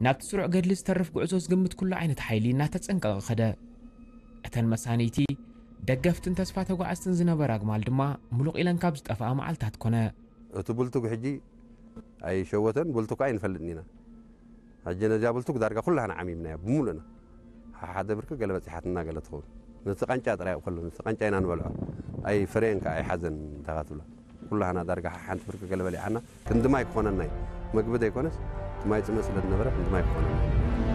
ናብቲ ስሩዕ ገድሊ ዝተርፍ ጉዕዞ ዝግምት ኩሉ ዓይነት ሓይሊ እናተጸንቀቐ ኸደ። እተን መሳንይቲ፣ ደገፍትን ተስፋ ተጓዓዝትን ዝነበራ ኣግማል ድማ ምሉቕ ኢለን ካብ ዝጠፍኣ መዓልታት ኮነ። እቲ ቡልቱግ ሕጂ ኣይሸወተን፣ ቡልቱግ ኣይንፈልጥን ኢና። ሕጂ ነዚኣ ቡልቱግ ዳርጋ ኩላህና ዓሚምናያ ብምሉእና። ሓደ ብርኪ ገለ በጺሓትና ገለ ትኸውን። ነቲ ቃንጫ ጥራይ ከሎ፣ ነቲ ቃንጫ ኢና ንበልዖ። ኣይ ፍሬን ከኣ ኣይሓዘን እንታ ትብላ። ኩላህና ዳርጋ ሓንቲ ብርኪ ገለ በሊዓና፣ ክንዲ ማይ ክኾነና እዩ። መግቢ ዘይኮነስ፣ እቲ ማይ ጽምእ ስለ ዝነበረ፣ ክንዲ ማይ ክኾነና እዩ።